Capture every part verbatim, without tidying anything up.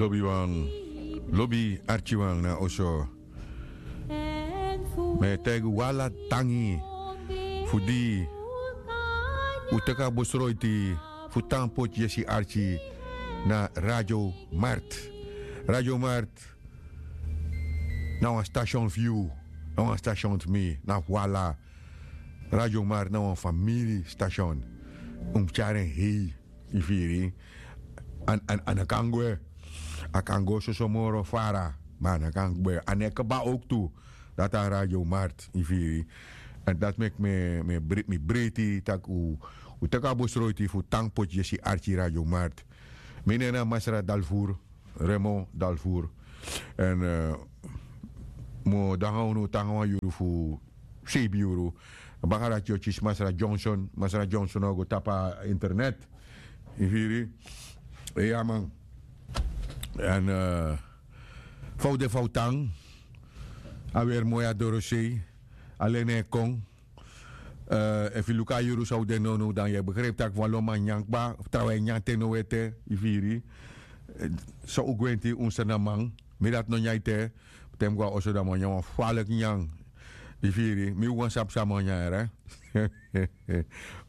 Lobiwan, lobi arkiwan na oso. Mi e taigi un ala tangi fu di un teki a besroiti fu tan poti yesi arki na Radio Mart. Radio Mart na wan station fu yu, na wan station fu mi, na fu ala. Radio Mart na wan famiri station. Un mus tyari en hei, yu firi. A no kan gwe. A kan go soso moro fara, ma a no kan gwe. A no e kaba owktu. Dati a Radio Mart, yu firi. Èn dati meki mi breiti tak' un teki a besroiti fu tan poti yesi arki Radio Mart. Mi nen na Masra Dalfur, Remo Dalfur. Èn mi o de nanga unu te nanga wan yuru fu seibi yuru. Baka dati yu o kisi Masra Johnson. Masra Johnson o go tapu a internet. Yu firi? Iya man. Èn fa un de, fa un tan? A weri moi, a dorosei. A leni e kon. Efu yu luku a yuru san un de nownow, dan yu e begripi tak' wan lo man nyan kba, trawan e nyan te now ete. Yu firi? So un gwenti, un srnaman. Mi dati no nyan ete. Te mi go na oso, dan mi o nyan wan faliki nyan. Yu firi? Mi wawan sabi san mi o nyan, yere.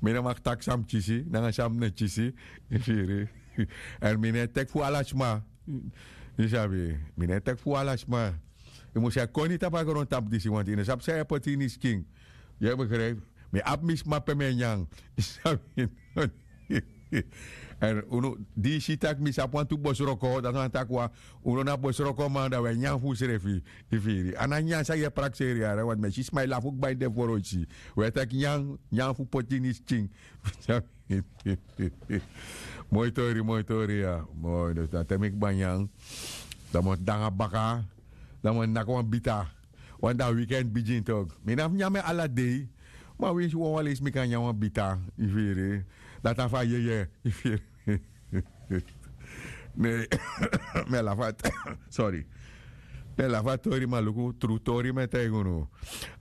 Mi no mag taki san mi kisi nanga san mi no kisi. Yu firi? Èn mi no e teki fu ala sma. Yu sabi? Mi no e teki fu ala sma. Yu mus e koni tapu a grontapu disi, want yu no sabi san yu e poti ini yu skin. Yu e begripi? Mi abi mi sma pe mi e nyan. Yu sabi? Èn unu, di yu si tak' mi sabi wantu bosroko, dati wani taki wan, unu na bosrokoman, dan un e nyan fu unsrefi. Yu firi? A no a nyan san yu e prakseri, yere, want mi e si sma e lafu kba ini den foroisi. Un e teki nyan, nyan fu poti ini yu skin. Moi tori, moi tori, ya. Moi, dus dan te mi kba nyan, dan mi o de nanga baka, dan mi o naki wan bita. Want dan weekend bigin tok. Mi no abi nyan mi ala dei. Ma winsi wawan leisi mi kan nyan wan bita. Yu firi? Dati na fu a yeye. Yu firi? Ne, mi e lafu a, sorry. Mi e lafu a tori, ma luku, tru tori mi e taigi unu.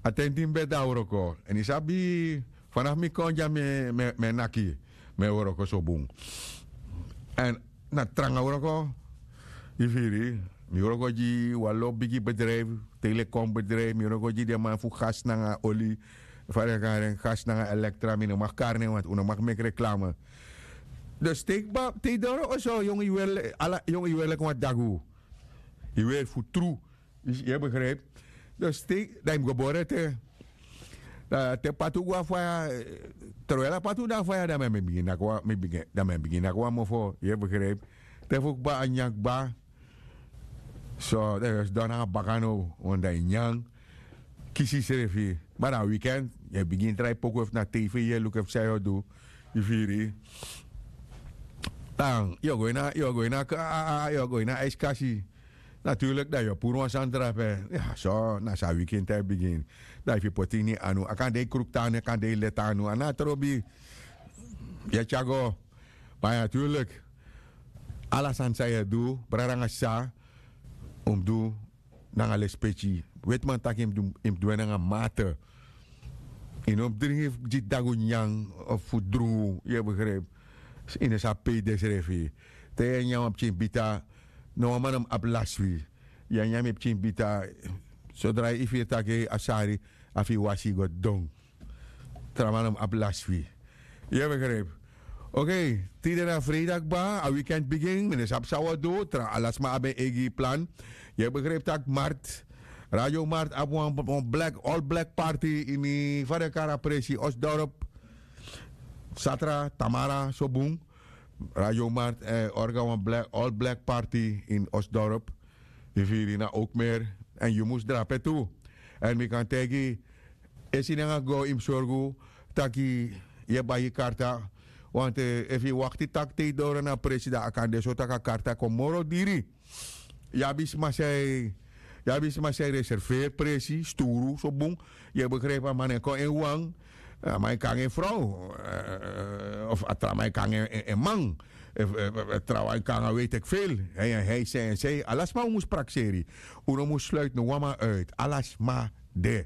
A ten di mi ben de na wroko. Èn yu sabi, fanafu mi kon dya mi e, mi e, mi e naki, mi e wroko so bun. Èn na tranga wroko, yu firi, mi wroko gi wan lo bigi bedrijf, telekom bedrijf, mi wroko gi den man fu gas nanga oli, fa den e kari en, gas nanga elektra, mi no mag kari nen, want un no mag meki reklame. Dus te yu kba, te yu doro oso, yongu yu weri, ala, yongu yu weri leki wan dagu. Yu weri fu tru. Yu e begrijp? Dus te, dan yu mus go bori ete. Dan te patu go na faya, eh, terwijl a patu de na faya, dan mi e bigin naki wan, mi bigin, dan mi e bigin naki wan mofo, yu e begrijp? Te fu kba a nyan kba. So, dan yu o sidon nanga baka now, want dan yu nyan, kisi yusrefi. Ma na weekend, yu e bigin drai poku efu na tv, yu e luku efu san yu o du. Yu firi? Dan yu o go ini a, yu o go ini a, a, a, yu o go ini a aiskasi. Naturlik, dan yu o puru wan sani drape. Ya, so, na so a weekend e bigin. Dan efu yu poti ini yu anu, a kan de yu kruktu anu, a kan de yu leti anu, a no abi trobi. Yu e tyari go. Ma ya, naturlik, ala sani san yu e du, brada nanga sisa, un mus du nanga lespeki. Wetiman taki yu mus du, yu mus du en nanga mate. Yu no mus dringi gi dagu nyan of fu drungu, yu e begrijp. Yu no sabi pe yu de srefi. Te yu e nyan wan pikin bita, no wan man no mus abi lasi fu yu. Yu e nyan mi pikin bita, sodra yu firi taki a sari, a fu yu wasi go don. Tra man no mus abi lasi fu yu. Yu e begrijp. Oké, tide na freida kba, a weekend bigin, mi no sabi san wi o du, tra ala sma abi en eigi plan. Yu e begrijp tak' Mart, Radio Mart abi wan, wan black, all black party ini, fa den e kari a presi, Osdorp. Satra, tamara, so bun. Radio Mart, eh, orga wan black, all black party in Osdorp. Yu firi, na Oakmeer. Èn yu mus drape tu. Èn mi kan taigi, esi nanga go yu mus sorgu taki yu e bai yu karta. Want efu yu wakti taki te yu doro na presi, dan a kan de so tak' a karta kon moro diri. Yu abi sma san e, yu abi sma san e reserveri presi, sturu, so bun. Yu e begrijp, a man e kon en wan. A man e kon nanga en frow. Eh, of a tra man e kon nanga en, en, en man. Efu, eh, eh, trawan e kon nanga weet ik veel. Hij en hij, zij en zij. Ala sma un mus prakseri. Un no mus sluiti no wan man uit. Ala sma de.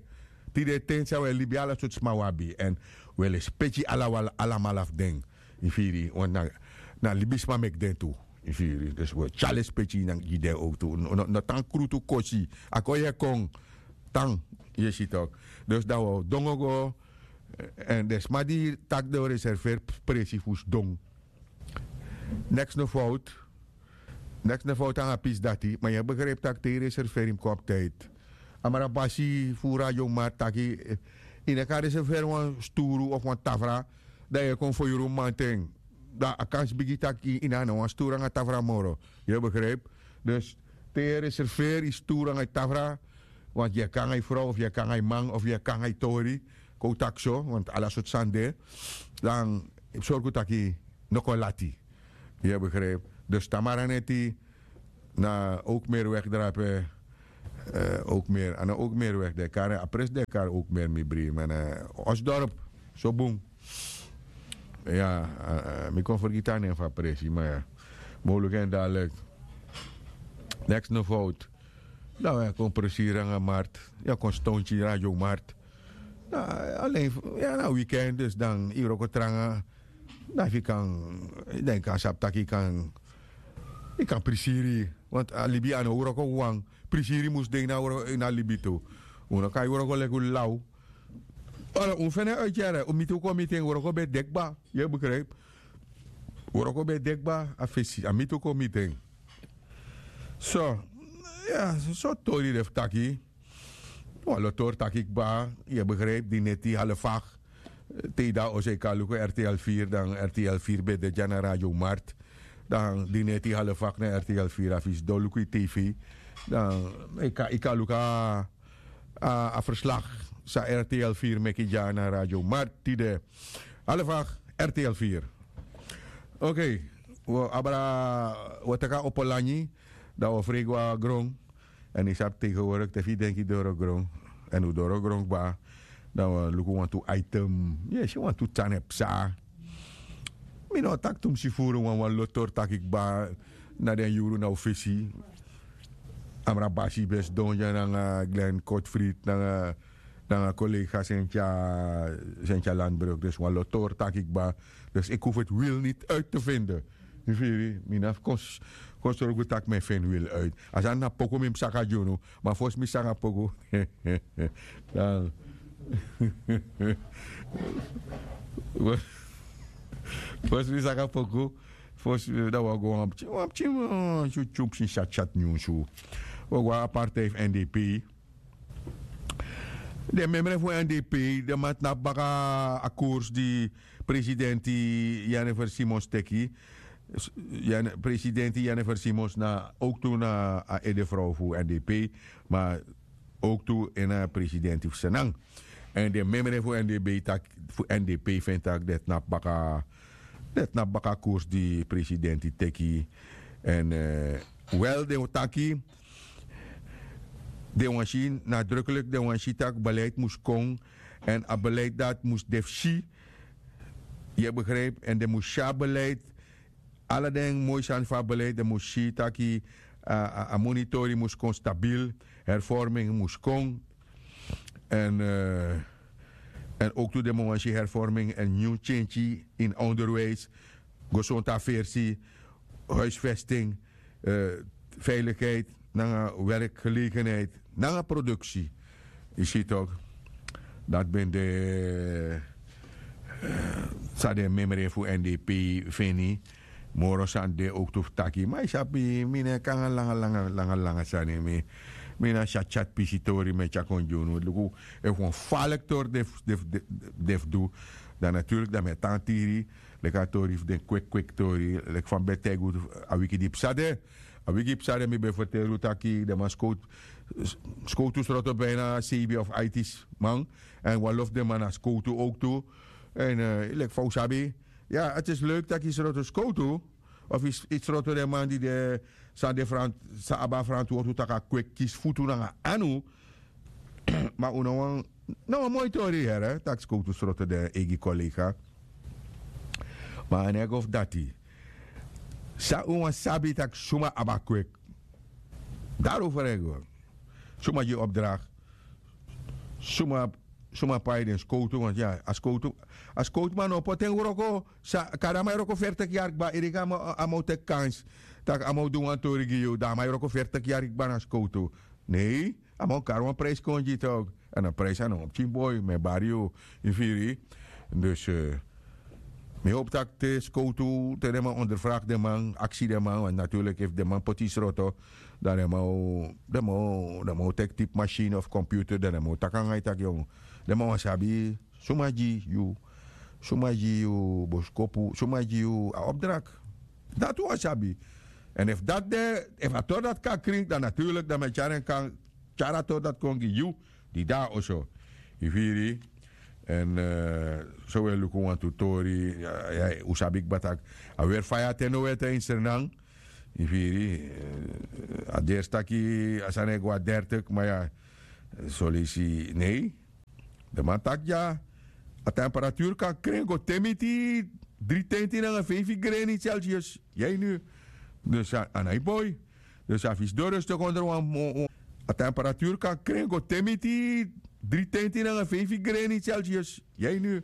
Tide ten san wi e libi, ala sortu sma wi abi. Èn wi e lespeki ala, alamala fu den. Yu firi, want na, na libisma meki den tu. Yu firi? Dus wi o tyari lespeki gi den owtu. No tan krutu kosi. A kon yu e kon tan. Yu e si tok'? Dus dan wi o dongo go. Èn den sma di taki den o reserveri presi fu sidon. Neks no fout. Neks no fout nanga pisi dati ma yu e begripi tak' te yu reserveri mus kon abi tidi. Amra basi fu radio mart taki yu no kan reserveri wan sturu of wan tafra, dan yu e kon foyuru mamanten. Dan a kansi bigi tak' yu no abi na wan sturu nanga tafra moro. Yu e begripi? Dus te yu e reserveri yu sturu nanga yu tafra, want yu e kon nanga yu frow of yu e kon nanga yu man of yu e kon nanga yu tori. Kon un taki so want ala sortu sani de. Dan yu mus sorgu tak' yu no kon lati. Yu e begripi? Dus tamara neti na ook meer wegdrape. Ook meer a no ook meer weg de kari a pres de kari ook meer mi bri man. Osdorp so bun. Ya. Mi kon fergiti a nen fu a presi ma ya. Moluku en dalik. Neks no fout. Dan wi e kon presiri nanga mart. Yu e kon stonti radio mart. Alen ya na weekend dus dan yu wroko tranga. Dan fu yu kan dan yu kan sabi tak' yu kan yu kan prisiri. Want a libi a no wroko wawan. Prisiri mus de ini a wroko ini a libi tu. Un no kan yu wroko leki un law. Ora un feni en uityere un miti un kon miti en wroko ben de kba. Yu e begripi? Wroko ben de kba. A fesi a miti un kon miti en. So ya so tori de fu taki. Wan lo tori taki kba. Yu e begripi di neti halfak te yu de a oso yu kan luku rtl firi dan rtl firi ben de dya na radio mart. Dan di neti halfak na rtl firi a fisi don luku yu tv. Dan yu kan luku a verslag san rtl firi meki dya na radio mart tide. Halfak rtl firi. Okei. Wi o abra wi o teki a opo langi dan wi o frei go na gron. Èn yu sabi tegenwoordik te fu yu denki doro gron èn un doro gron kba. Dan wi o luku wantu item. Yu e si wantu tan e psa. Mi no o taki tumsi furu wan wan lotori taki kba. Na den yuru na un fesi. Amra basi ben sidon dya nanga glen kotfrit nanga nanga kolega senti a senti a landbruk dus wan lotori taki kba. Dus iki hufu eti wil niti uiti te vinde. Yu firi mi na fu kon sorgu tak' mi e feni wil uiti a sani na poku mi mus saka gi unu. Ma fosi mi saka poku dan fosi mi saka poku fosi dan wi o go wan pikin wan pikin wan tyutyun pikin syatyat nyunsu. Wi o go na a partij fu ndp. Den memre fu ndp den man tnapu baka a koers di presidenti jennifer simons teki. Presidenti jennifer simons na owktu na a edefrow fu ndp ma owktu ini a presidenti fu senan. Èn den memre fu ndp taki fu ndp feni tak' den tnapu baka den tnapu baka a koers di presidenti teki. Èn wel den o taki den wani si nadruklik den wani si tak' beleid mus kon. Èn a beleid dati mus de fu si. Yu e begripi èn den mus si a beleid. Ala den moi sani fu a beleid den mus si tak' a monitori mus kon stabil. Hervorming mus kon. Èn èn owktu den mus wani si hervorming èn nyun tyentyi ini onderwijs. Gesontu aversi huisvesting veilikheid nanga werkgelegenheid nanga produksi. Yu si tok'? Dati ben de san den memre fu ndp feni. Moro sani de owktu fu taki ma yu sabi mi no e kon nanga langa langa langa sani mi mi na si a tyati pisi tori mi e tyari kon gi unu luku. Efu wan faliki tori de fu du dan naturlik dan mi e tan tiri. Leki a tori fu den kweki kweki tori leki fa mi ben taigi unu a wiki di psa de. A wiki psa de mi ben ferteri unu taki den man skowtu skowtu sroto bina seibi of aiti man. Èn wan lo fu den man na skowtu owktu. Èn leki fa un sabi ya eti isi leuk tak' yu sroto skowtu of yu sroto den man di de san de san abi a ferantwortu tak' a kweki kisi futu nanga anu. Ma un no wani na wan moi tori yere tak' skowtu sroto den eigi kolega. Ma a no e go fu dati san un wani sabi tak' suma abi a kweki. Dari un ferego suma gi yu opdrakt suma suma pai den skowtu want ya a skowtu a skowtu man no poti en wroko. Kari a man e wroko fertik yari kba iriki a man o teki kansi tak' a man o du wan tori gi yu dan a man e wroko fertik yari kba na skowtu. Nei, a man o kari wan prijsi kon gi yu tok. Èn a prijsi a no wan pikin boi mi e bari yu. Yu firi? Dus mi hopi tak' te skowtu te den man onderfraki den man aksi den man want naturlik efu den man poti yu sroto dan den man o den man o teki tipi masini of komputer dan den man o taki nanga yu tak' yongu den man wani sabi suma gi yu suma gi yu boskopu suma gi yu a opdrak. Dati wan sabi. Èn efu dati de efu a tori dati kan krin dan naturlik dan mi e tyari en kan tyari a tori dati kon gi yu di de na oso. Yu firi? Èn so wi e luku wantu tori un sabi kba tak' a weri faya te no wete ini sernan. Yu firi? A dersi taki a sani e go na dertik ma ya soleisi nei. Den man taki dya a temperatuur kan kren go te miti dri tenti nanga feifi greni celsius. Yai nu. Dus a nai boi. Dus a fisi doro stuk onder wan a temperatuur kan kren go te miti dri tenti nanga feifi greni celsius. Yai nu.